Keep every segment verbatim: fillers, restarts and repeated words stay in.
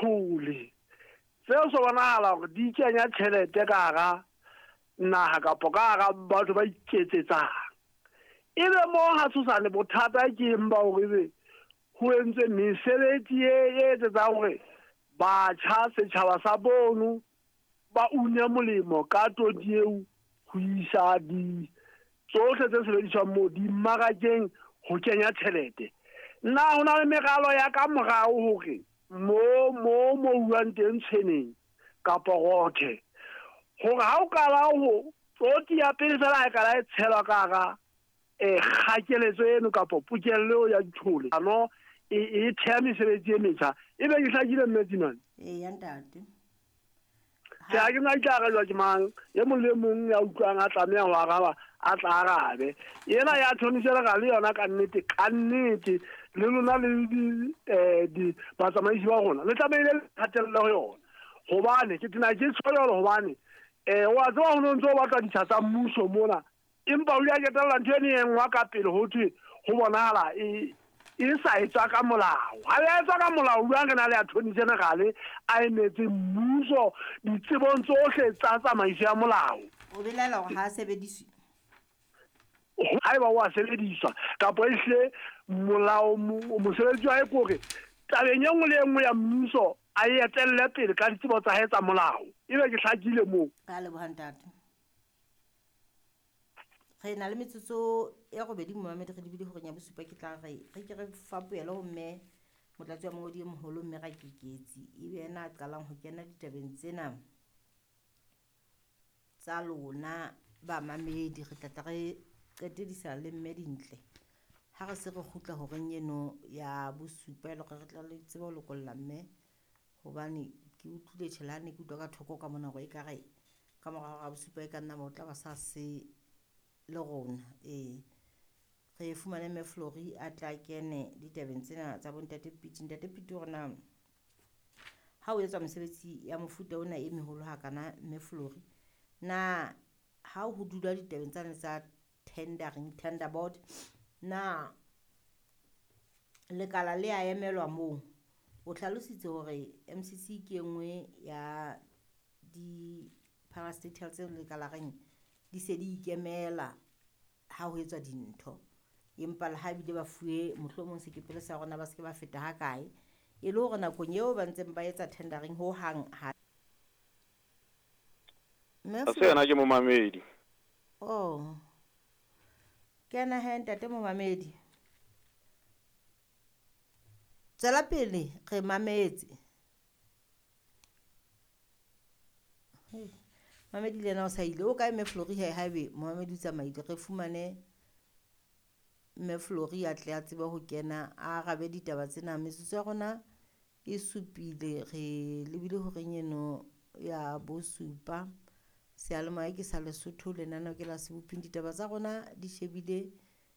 dithole tseo so bonahala hore di kenya tjhelete ka hara naha kapo ka hara batho ba iketsetsang. Ebe mo ha tshosane bothata ke eng ba hore ebe ho entswe mesebetsi e etsetsang hore batjha setjhaba sa bono ba une molemo ka toti eo ho isa di tsohle tse sebediswang moo dimmarakeng ho kenya tjhelete. Nna ho na le meralo ya ka morao hore mo mo mo uwang teng tshweneng kapa rothe hore ha o qala ho toti ya pele fela ha e qala e tshelwa ka hara eh kgakeletso eno kapa pokello ya dithole ano e e theha mesebetsi e metjha. Ebe ke hlakile mme Tsimane? Eya ntate. Ke ha ke na ke arabelwa ke mang e mong le mong ya utlwang a tlameha ho araba a tla arabe. Ena ya thonisela ka le yona ka nnete ka nnete le lona le di eh di batsamaisi ba rona le tlamehile le hatelle ho yona hobane ke tena ke tshwelo hobane eh wa tseba ho no ntso batla ditsha tsa mmuso mona empa o ile a ketella ntho ene e nngwe ka pele ho thwe ho bonahala e e sa etswa ka molao. Ha ya etswa ka molao jwang re na le attorney general a emetse mmuso ditsebong tsohle tsa tsamaiso ya molao. O belaela hore ha a sebediswe? Haeba o a sebediswa kapa ehle molao mosebetsi wa hae ke hore tabeng e nngwe le e nngwe ya mmuso a e etelle pele ka ditsebo tsa hae tsa molao. Ebe ke hlakile moo. Ka leboha ntate. Re na le metsotso e robedi momamedi re lebile horeng ya bosupa ke tla re re ke re fapohele ho mme motlatsi wa mongodi e moholo mme Rakeketsi ebe yena a qalang ho kena ditabeng tsena tsa lona bamamedi. Re tla tla re qetedisa le mme Dintle ha re se re kgutla horeng eno ya bosupa e le hore re tla le tsebe ho lokolla mme hobane ke utlwile tjhe le ha ne ke utlwa ka thoko ka mona hore ekare ka mora hora ya bosupa e ka nna ba o tla ba sa se le rona. Ee, re fumane mme Flory a tla kene ditabeng tsena tsa bontate Piti. Ntate Piti hore na ha o etswa mesebetsi ya mofuta ona e meholo hakana mme Flory, na ha ho dula ditabeng tsane tsa tendering, tender board, na lekala le a emelwa moo? O hlalositse hore M C C ke e nngwe ya di-parastatal tseo lekala reng di se di ikemela ha ho etswa dintho, empa le ha ebile ba fuwe mohlomong sekepele sa rona ba se ke ba feta ha kae, e le hore nakong eo ba ntseng ba etsa tendering ho hang ha Mme Ha se yena ke momamedi. Oh. Kena he ntate momamedi. Tswela pele re mametse. Mamedi le yena o sa ile. O kae mme Flory he haebe momamedi o tsamaile re fumane mme Flory a tle a tsebe ho kena a arabe ditaba tsena. Metsotso ya rona e supile re lebile horeng eno ya bosupa. Seyalemoya ke sa Lesotho lenaneo ke la Seboping. Ditaba tsa rona di shebile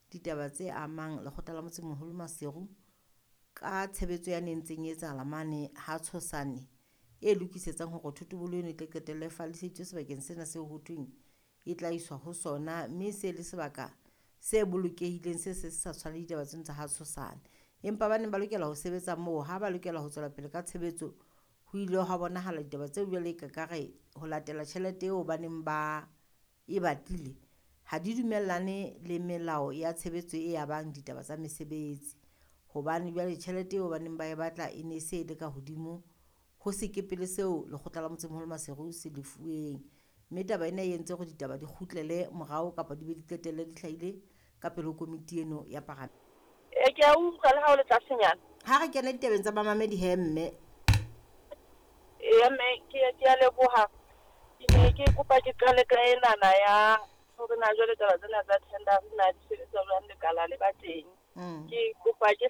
ditaba tse amang lekgotla la motsemoholo Maseru ka tshebetso ya ne ntseng e etsahala mane ha Tshosane e lokisetsang hore thotobolo eno e tle qetelle e falliseditswe sebakeng sena seo ho thweng e tla iswa ho sona, mme se le sebaka se bolokehileng se se sa tshwane le ditaba tseno tsa ha Tshosane. Empa ba neng ba lokela ho sebetsa moo ha ba lokela ho tswela pele ka tshebetso ho ile hwa bonahala ditaba tseo jwale ka kare ho latela tjhelete eo ba neng ba e batlile ha di dumellane le melao ya tshebetso e abang ditaba tsa mesebetsi, hobane jwale tjhelete eo ba neng ba e batla e ne se e le ka hodimo ho sekepele seo lekgotla la motsemoholo Maseru se lefuweng. Mme taba ena e entse hore ditaba di kgutlele morao kapa di be di qetelle di hlahile ka pele ho komiti eno ya paramente. E ke a utlwa le ha o le tlasenyana. Ha re kena ditabeng tsa bamamedi he mme. Eya mme ke ke a leboha. Ke ne ke kopa ke qale ka enana ya hore na jwale taba tsena tsa tender na di sebetsa jwang lekala le ba teng. Mm. Ke kopa ke